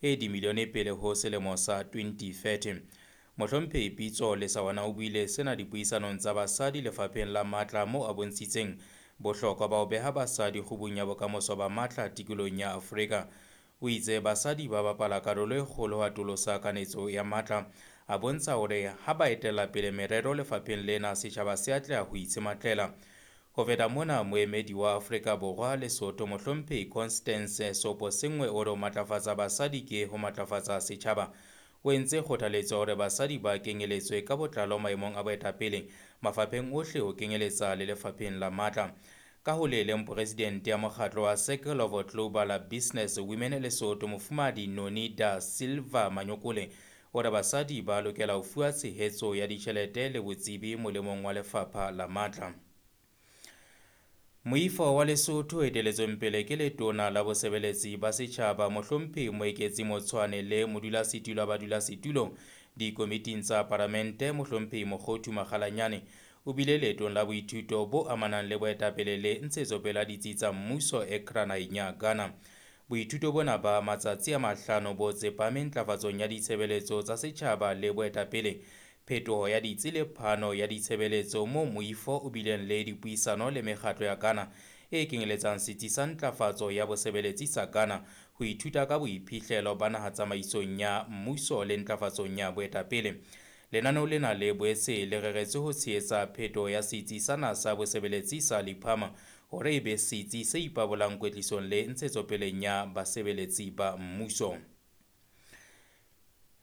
e dimilione pele ho selemo sa 2030. Mohlomphehi Pitso Lesawana o buile sena dipuisanong tsa basadi lefapheng la matla moo a bontshitseng bohlokwa ba ho beha basadi kgubung ya bokamoso ba matla tikolohong ya Afrika. O itse basadi ba bapala karolo e kgolo ho atolosa kanetso ya matla, a bontsha hore ha ba etella pele merero lefapheng lena setjhaba se atleha ho itshematlela. Ho feta mona, moemedi wa Afrika Borwa Lesotho Mohlomphehi Constance Seoposenngwe o re ho matlafatsa basadi ke ho matlafatsa setjhaba. O entse kgothaletso hore basadi ba kenyeletswe ka botlalo maemong a boetapele mafapheng ohle ho kenyeletsa le lefapheng la matla. Ka ho le leng, presidente ya mokgatlo wa Circle of Global Business Women Lesotho Mofumahadi Noni da Silva Manyokole o re basadi ba lokela ho fuwa tshehetso ya ditjhelete le botsebi molemong wa lefapha la matla. Moifo wa Lesotho o eteletsweng pele ke letona la bosebeletsi ba setjhaba Mohlomphehi Moeketsi Motshwane le modulasetulo wa badulasetulo dikomiting tsa palamente Mohlomphehi Mokgothu Makgalanyane o bile leetong la boithuto bo amanang le boetapele le ntshetsopele ya ditsi tsa mmuso Accra naheng ya Ghana. Boithuto bona ba matsatsi a 5 bo tsepame ntlafatsong ya ditshebeletso tsa setjhaba le boetapele, phetoho ya ditsi le phano ya ditshebeletso moo moifo o bileng le dipuisano le mekgatlo ya Ghana e kenyeletsang setsi sa ntlafatso ya bosebeletsi sa Ghana ho ithuta ka boiphihlelo ba naha tsamaisong ya mmuso le ntlafatsong ya boetapele. Lenaneo lena le boetse le reretswe ho tshehetsa phetoho ya setsi sa naha sa bosebeletsi sa Liphama hore e be setsi se ipabolang kwetlisong le ntshetsopeleng ya basebeletsi ba mmuso.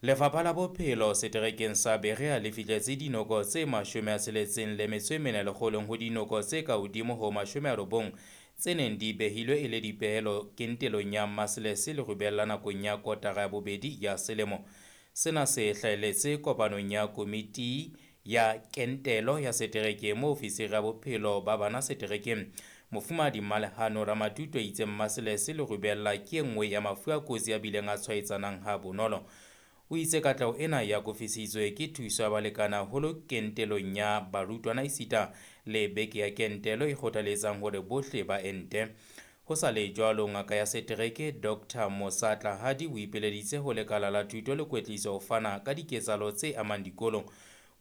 Lefapha la Bophelo seterekeng sa Berea le fihletse dinoko tse 64 lekgolong ho dinoko tse ka hodimo ho 90 tse neng di behilwe e le dipehelo kentelong ya measles le rubella nakong ya kotara ya bobedi ya selemo. Sena se hlahelletse kopanong ya komiti ya kentelo ya setereke moo ofisiri ya bophelo ba bana seterekeng Mofumahadi Mmalehano Ramatuto a itseng measles le rubella ke e nngwe ya mafu a kotsi a bileng a tshwaetsanang ha bonolo. O itse katleho ena ya kofisitswe ke thuso ya balekane haholo kentelong ya barutwana esita le beke ya kentelo e kgothaletsang hore bohle ba ente. Ho sa le jwalo, ngaka ya setereke Dr. Mosa Tlahadi o ipeleditse ho lekala la thuto le kwetliso ho fana ka diketsahalo tse amang dikolo.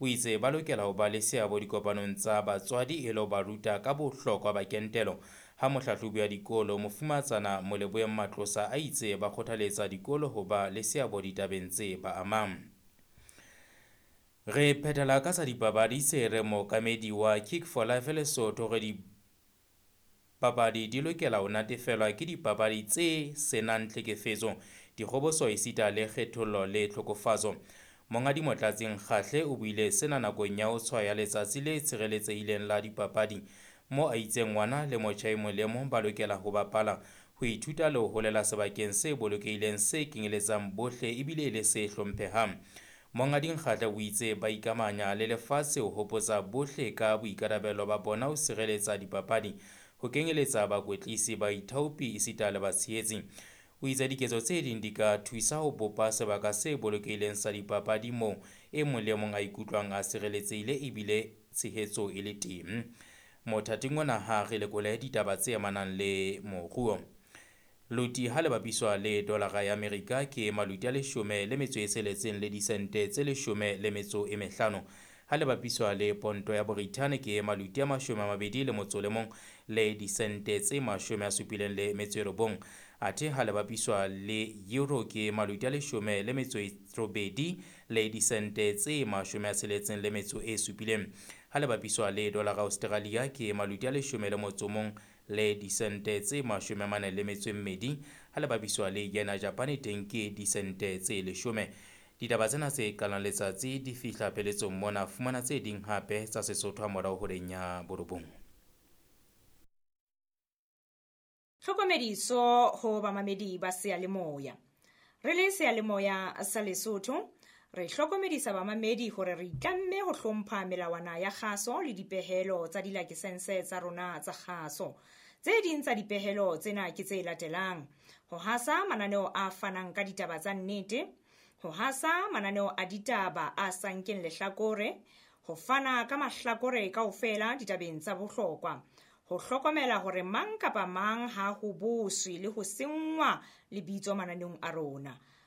O itse ba lokela ho ba le seabo dikopanong tsa batswadi e le ho ba ruta ka bohlokwa ba kentelo. Ha mohlahlobi wa dikolo Mofumatsana Moleboeng Matlosa a itse ba kgothaletsa dikolo ho ba le seabo ditabeng tse ba amang. Re phethela ka tsa dipapadi se re mookamedi wa Kick for Life Lesotho re dipapadi di lokela ho natefelwa ke dipapadi tse senang tlhekefetso, dikgoboso esita le kgethollo le tlhokofatso. Monghadi Motlatsi Nkgahle o buile sena nakong ya ho tshwaya letsatsi le tshireletsehileng la dipapadi mo a itseng ngwana le motjha e mong le mong ba lokela ho bapala, ho ithuta le ho holela sebakeng se bolokehileng se kenyeletsang bohle ebile e le se hlomphehang. Monghadi Nkgahle o itse ba ikamanya le lefatshe ho hopotsa bohle ka boikarabelo ba bona ho sireletsa dipapadi, ho kenyeletsa bakwetlisi, baithaopi esita le batshehetsi. O itse diketso tse ding di ka thusa ho bopa sebaka se bolokehileng sa dipapadi moo e mong le mong a ikutlwang a sireletsehile ebile tshehetso e le teng. Mothating ona ha re lekole ditaba tse amanang le moruo. Loti ha le bapiswa le dolara ya Amerika ke maluti a 16 le disente tse 15. Ha le bapiswa le ponto ya Borithane ke maluti a 21 le disente tse 79. Athe ha le bapiswa le euro ke maluti a 18 le disente tse 67. Ha le bapiswa le dolara Australia ke maluti a 11 le disente tse 42. Ha le bapiswa le yen ya Japan teng ke disente tse 10. Ditaba tsena tse qalang letsatsi di fihla pheletsong mona. Fumana tse ding hape tsa Sesotho ha morao horeng ya 9. Tlhokomediso ho bamamedi ba seyalemoya. Re le seyalemoya sa Lesotho, re hlokomedisa bamamedi hore re itlamme ho hlompha melawana ya kgaso le dipehelo tsa dilakesense tsa rona tsa kgaso. Tse ding tsa dipehelo tsena ke tse latelang: ho hasa mananeo a fanang ka ditaba tsa nnete, ho hasa mananeo a ditaba a sa nkeng lehlakore, ho fana ka mahlakore kaofela ditabeng tsa bohlokwa, ho hlokomela hore mang kapa mang ha ho boswe le ho senngwa lebitso mananeong a rona.